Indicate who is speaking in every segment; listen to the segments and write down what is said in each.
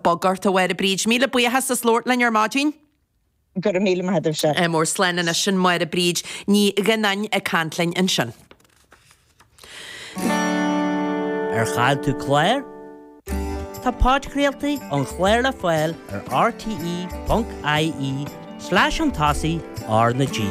Speaker 1: Bog ort, a Mháire Bríd. Míle buíochas as labhairt linn ar maidin.
Speaker 2: Go raibh míle maith agaibhse.
Speaker 1: Ádh mór. Slán anois. Sin Máire Bríd Ní Ghionnáin ag caint linn ansin.
Speaker 3: Ar chaill tú clár? Tá podchraoltaí an chláir le fáil ar rte.ie slash chun tosaigh R na G.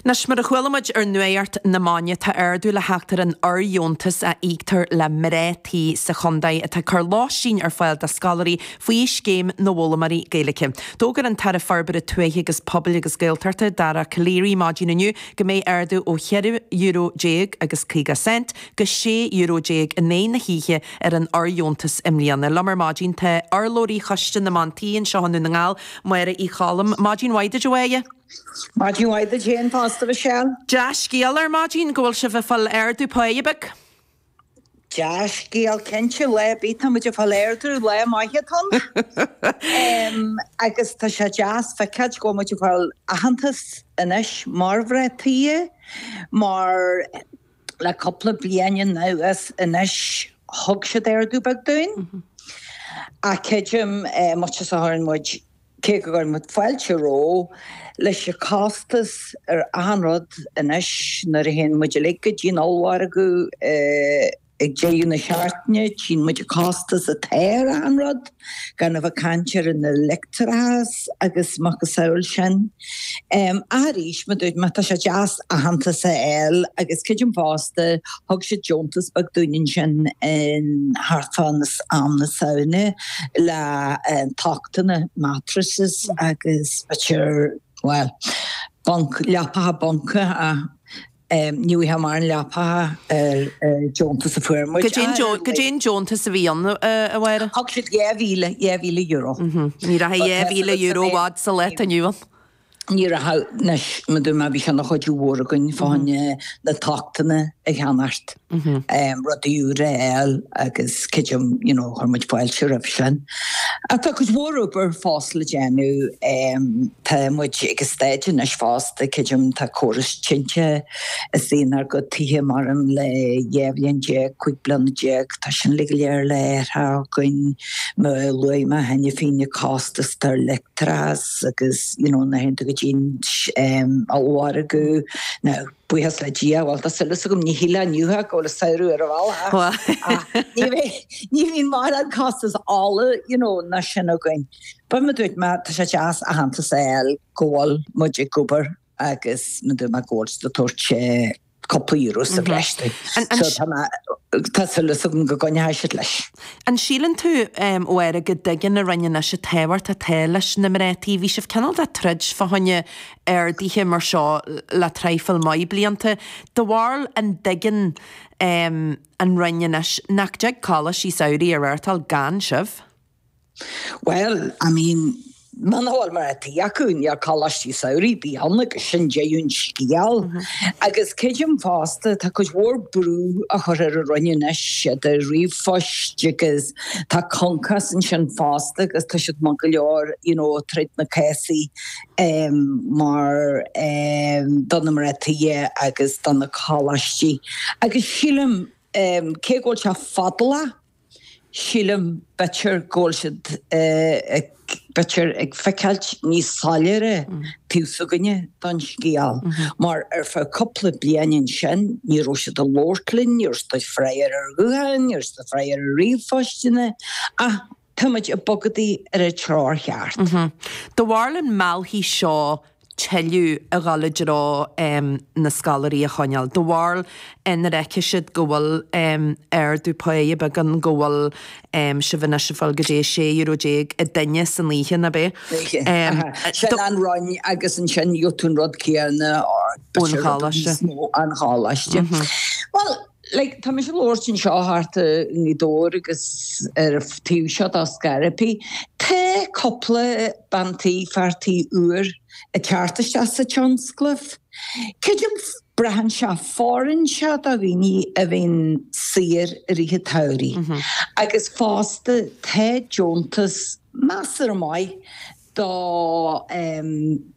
Speaker 1: Anois, mar a chuala muid ar Nuacht na Maidine, tá ardú le theacht ar an fhóirdheontas a íoctar le mná tí sa chontae atá ag cur lóistín ar fáil do scoláirí faoi Scéim na bhFoghlaimeoirí Gaeilge. D'fhógair an tAire Forbartha Tuaithe agus Pobail agus Gaeltachta, Dara Calleary, maidin inniu go mbeidh ardú ó €14 euro agus 50 cent go €16 euro in aghaidh na hoíche ar an fhóirdheontas i mbliana. Liom ar maidin tá urlabhraí Choiste na mBan Tí anseo i nDún na nGall, Máire Uí Choilm. Maidin mhaith duit, a Mháire.
Speaker 4: Maidin mhaith duit féin fosta, Michelle.
Speaker 1: Dea-scéal ar maidin go bhfuil sibh ag fáil ardú páighe beag.
Speaker 4: Dea-scéal cinnte, lá ar bith tá muid ag fáil ardú, lá maith atá ann. Agus tá sé deas feiceáilt go bhfuil muid ag fáil aitheantas anois mar mhná tí, mar le cúpla bliain anuas anois thug siad ardú beag dúinn. Ach creidim, muid is a chuireann muid Cé go gcuireann muid fáilte rompu, leis an costas ar achan rud anois, nuair a théann muid uilig go dtí an ollmhargadh ag deireadh na seachtaine, tchíonn muid an costas atá ar achan rud, gan a bheith ag caint ar an leictreachas agus macasamhail sin. Ach arís, mar a dúirt mé, tá sé deas aitheantas a fháil agus creidim fosta, thug siad deontas beag dúinn ansin in thart fá am na Samhna le tochtanna, mattresses agus b'fhéidir, bhuel, bunk, leapacha bunca ach ní bhfuigheadh mórán leapacha ar deontas a fuair muid.
Speaker 1: Goidé an deontas a bhí ann, a Mháire?
Speaker 4: Thug siad €2,000, €2,000.
Speaker 1: Ní rachaidh €2,000 i bhfad sa lá atá inniu ann.
Speaker 4: Ní rachaidh anois, mar dúirt mé, bhí sé ina chuidiú mhór againn fá choinne na tochtanna a cheannacht, rudaí úra a fháil agus creidim, you know, chuir muid fáilte roimh sin. Ach tá cuid mhór obair fós le déanamh, tá muid ag an staid anois fosta, creidim, tá córas tinte istigh inár gcuid tithe maidir le 12 bhliain, 15 bliana, tá sin uilig go léir le hathrú againn, mar a luaigh mé cheana féin, na costais ar leictreachas, agus you know nuair a théann tú go dtí an ollmhargadh now buíochas le Dia bhuel tá súil agam ní shílfeá inniu go bhfuil an samhradh ar an bhealach ach ní bheidh ní bhíonn mórán costas ola you know ná sin againn. But mar dúirt mé tá sé deas aitheantas a fháil go bhfuil muid ag obair agus mar dúirt mé go bhfuil siad ag tabhairt cúpla euro sa bhreis dúinn. So tá mé, tá súil agam go gcoinneoidh siad leis.
Speaker 1: An síleann tú, a Mháire, go dtuigeann an Roinn anois an tábhacht atá leis na mná tí? Bhí sibh cineál de troid fá choinne arduithe mar seo le traidhfil maith blianta. Do bharúil an dtuigeann an Roinn anois nach dtig coláistí samhraidh a reáchtáil gan sibh?
Speaker 4: Bhuel, I mean, muna bhfuil mná tí acu, níl coláistí samhraidh ar bith ann agus sin deireadh an scéil. Agus creidim fosta, tá cuid mhór brú á chur ar an Roinn anois, idir ríomhphoist agus tá Concos ansin fosta agus tá siad maith go leor, you know, tríd na cásaí mar do na mná tí agus do na coláistí. Agus sílim, cé go bhfuil sé fadálach, Sílim, b'fhéidir, go bhfuil siad ag, b'fhéidir, ag feiceáilt níos soiléire taobh s'againne don scéal, mar ar feadh cúpla bliain ansin, ní raibh siad ag labhairt linn, ní raibh siad ag freagairt ar ghutháin, ní raibh siad ag freagairt ar ríomhphoisteanna, ach tá muid ag bogadaí ar an treoir cheart.
Speaker 1: Do bharúil an meallfaidh seo tuilleadh a dhul i dtreo na scoláirí a choinneáil. Do bharúil nuair a fheicfidh siad go bhfuil ardú páighe beag ann, go bhfuil sibh anois ag fáil go dtí €16 euro an duine san oíche, ná b'é?
Speaker 4: Sin an Roinn agus ansin gheobhaidh tú an rud céanna
Speaker 1: ón choláiste.
Speaker 4: Ón choláiste. Bhuel, like, tá mise ag labhairt anseo thart i nGaoth Dobhair agus ar an taobh seo de Scairbí. Tá cúpla bean tí, fear tí úr ag teacht isteach sa tionscnamh. Creidim braitheann sé, fóireann sé do dhaoine a bhíonn saor i rith an tsamhraidh. Agus fosta tá deontas measartha maith do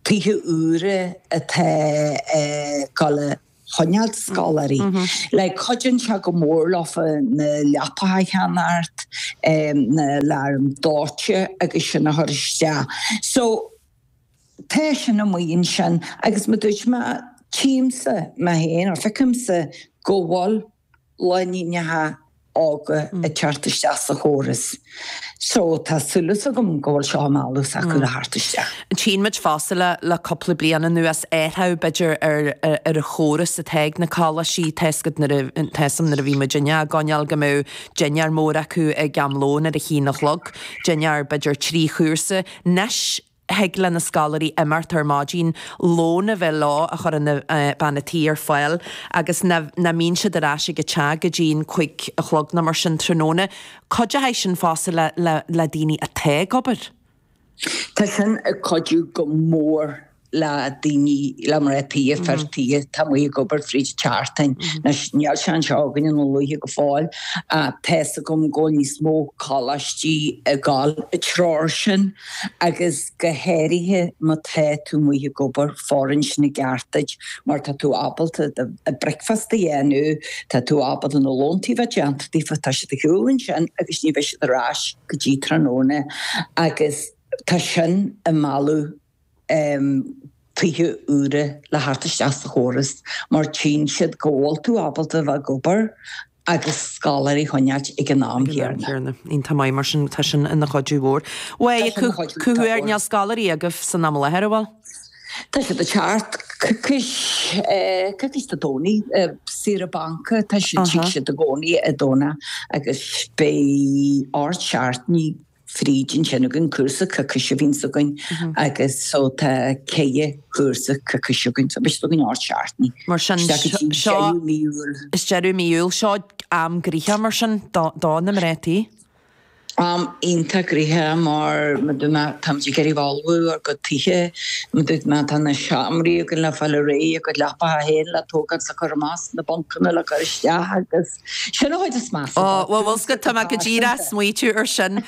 Speaker 4: tithe úra atá ag dul a. choinneáilt scoláirí. Like cuidíonn sé go mór leofa na leapacha a cheannacht, na aláraim dóite agus sin a chur isteach. So tá sin amuigh ansin agus mar dúirt mé, tchímse mé féin, or feicimse go bhfuil lánúineacha óga ag teacht isteach sa chóras. So tá súil agam go bhfuil seo ag mealladh s'acu le theacht isteach.
Speaker 1: Tchíonn muid fosta le le cúpla bliain anuas athrú b'fhéidir ar ar an chóras atá ag na coláistí. Tá 'fhios agat nuair a tá 'fhios a'm nuair a bhí muidinne á gcoinneáil go mbeadh dinnéar mór acu ag am lóin ar a haon a chlog, dinnéar b'fhéidir 3 chúrsa. Anois thig le na scoláirí imeacht ar maidin, lón a bheith leo a chuireann bean a' tí ar fáil agus nach mbíonn siad ar ais ag an teach go dtí'n chuig a chlog nó mar sin tráthnóna. Cuideoidh sin fosta le le le daoine atá ag obair.
Speaker 4: Tá sin ag cuidiú go mór le daoine, le mná tí, fir tí atá amuigh ag obair fríd an tseachtain. Anois níl sé anseo againn i nDún Lúiche go fóill ach tá 'fhios agam go bhfuil níos mó coláistí ag dul i dtreo sin. agus go háirithe má tá tú amuigh ag obair, fóireann sin i gceart duit mar tá tú ábalta do bricfeasta a dhéanamh, tá tú ábalta na lóntaí a bheith déanta daofa, tá siad ar shiúl ansin agus ní bheidh siad ar ais go dtí tráthnóna agus tá sin ag mealladh tithe úra le theacht isteach sa chóras mar tchíonn siad go bhfuil tú ábalta a bheith ag obair agus scoláirí a choinneáilt ag an am chéanna.
Speaker 1: Iontach maith mar sin, tá sin ina chuidiú mhór. Bhuel, cá huair, níl scoláirí agaibh san am i láthair, an bhfuil?
Speaker 4: Tá siad ag teacht coicís, coicís Dé Domhnaigh, saoire banca, tá siad, tig siad i gcónaí i Domhnach agus beidh 8 seachtainí fríd ansin againn, cúrsa coicíse a bhíonns againn agus so tá ceithre chúrsa coicíse againn, so beidh siad againn 8 seachtainí.
Speaker 1: Mar sin, seo, deireadh mí Iúil. Is deireadh mí Iúil, seo am gnoitheach mar sin do na mná tí.
Speaker 4: Am iontach gnoitheach mar mar dúirt mé táimid ag iarraidh ullmhú ár gcuid tithe, mar dúirt mé tá na seomraí againn le fáil réidh, a gcuid leapacha féin le tógáil 's le cur amach, na buncanna le cur isteach agus. Sin an chuid is measa.
Speaker 1: Ó, bhuel, bhfuil 's agat, tá mé go díreach ag smaoitiú ar sin.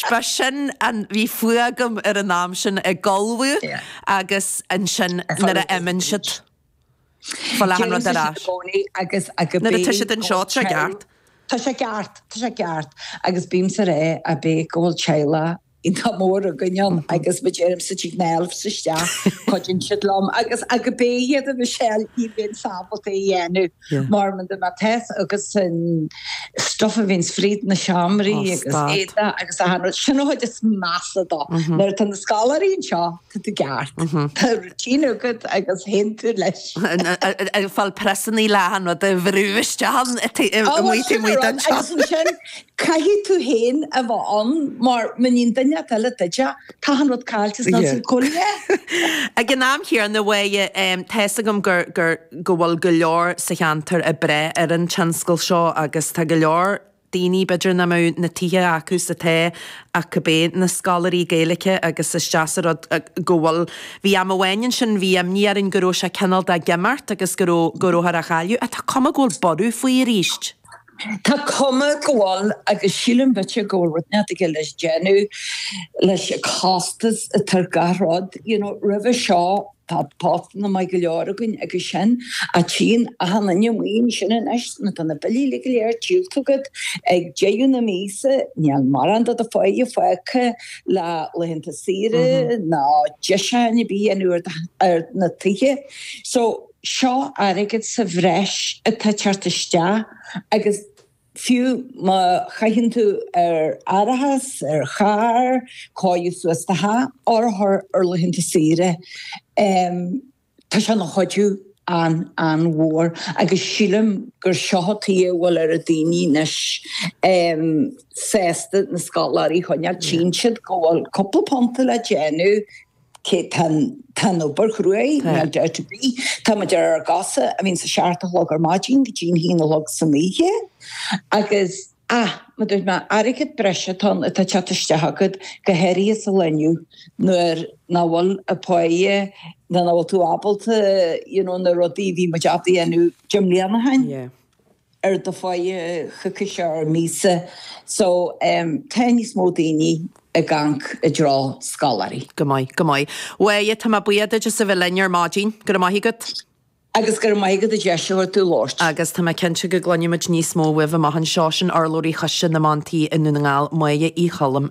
Speaker 1: Ba sin an, bhí fuath agam ar an am sin ag ullmhú agus ansin nuair a imíonn siad. Fáil achan rud ar ais.
Speaker 4: Agus
Speaker 1: Nuair atá siad anseo, tá sé ceart.
Speaker 4: Tá sé ceart, tá sé ceart. Agus bímse ag rá, a b'é go bhfuil teaghlach iontach mór againn ann agus mar deirimse tig na elves isteach, cuidíonn siad liom agus ach b'é iad a Michelle ní bheinn ábalta é a dhéanamh mar mar má tá 'fhios agat an stuff a bhíonns fríd na seomraí agus éadaí agus achan rud, sin an chuid is measa dó. Nuair atá na scoláirí anseo, tá tú ceart. Tá routine agat agus théann tú leis.
Speaker 1: Ag fáil priosannaí le achan rud a bhrú isteach ann amuigh taobh amuigh den
Speaker 4: teach. Agus ansin Caithfidh tú féin a bheith ann mar má níonn duine inteacht eile duit é, tá an rud caillte sna yeah. cúinne.
Speaker 1: Ag an am chéanna Mháire, tá 'fhios agam gur, gur, go bhfuil go leor sa cheantar ag brath ar an tionscal seo agus tá go leor daoine b'fhéidir nach mbeadh na tithe acu is atá ach cibé na scoláirí Gaeilge agus is deas an rud go bhfuil, bhí am amháin ansin bhí imní orainn go raibh sé cineál de ag imeacht agus go raibh, go rabhthar á chailleadh ach tá cuma go bhfuil borradh faoi arís.
Speaker 4: Tá cuma go bhfuil, agus sílim b'fhéidir go bhfuil rud inteacht aige le déanamh leis an costas atá ar gach rud. You know, roimhe seo tá postanna maith go leor againn agus sin, ach tchíonn achan duine amuigh ansin anois nuair atá na billí uilig go léir díolta agat ag deireadh na míosa, níl mórán de do pháighe fágtha le laethanta saoire ná deisiúcháin ar bith a dhéanamh ar na tithe. So, Seo airgead sa bhreis atá ag teacht isteach agus fiú má chaitheann tú ar árachas, ar charr, cóiriú suas do theach, or a chur ar laethanta saoire, tá sé ina chuidiú an-an-mhór agus sílim gur seo an tuige a bhfuil oiread daoine anois sásta na scoláirí a choinneáil. Tchíonn siad go bhfuil cúpla punt le déanamh Cé tá an obair chruaidh, níl dabht ar bith. Tá muid ar ár gcosa a bhíonn sa seacht a chlog ar maidin go dtí an haon a chlog san oíche. Agus, ah, mar dúirt mé, airgead breise atá ann atá ag teacht isteach agat, go háirithe sa lá inniu nuair nach bhfuil an pháighe nó nach bhfuil tú ábalta, you know, na rudaí a bhí muid ábalta a dhéanamh deich mbliana ó shin.
Speaker 1: Yeah.
Speaker 4: ar do pháighe choicíse or míosa so tá níos mó daoine ag amharc i dtreo scoláirí.
Speaker 1: Go maith, go maith. Mháire, tá mé buíoch duit as a bheith linn ar maidin. Go raibh maith agat.
Speaker 4: Agus go raibh maith agat an deis a thabhairt domh labhairt.
Speaker 1: Agus tá mé cinnte go gcluinfimid níos mó uaibh amach anseo. Sin urlabhraí Choiste na mBan Tí i nDún na nGall, Máire Uí Choilm.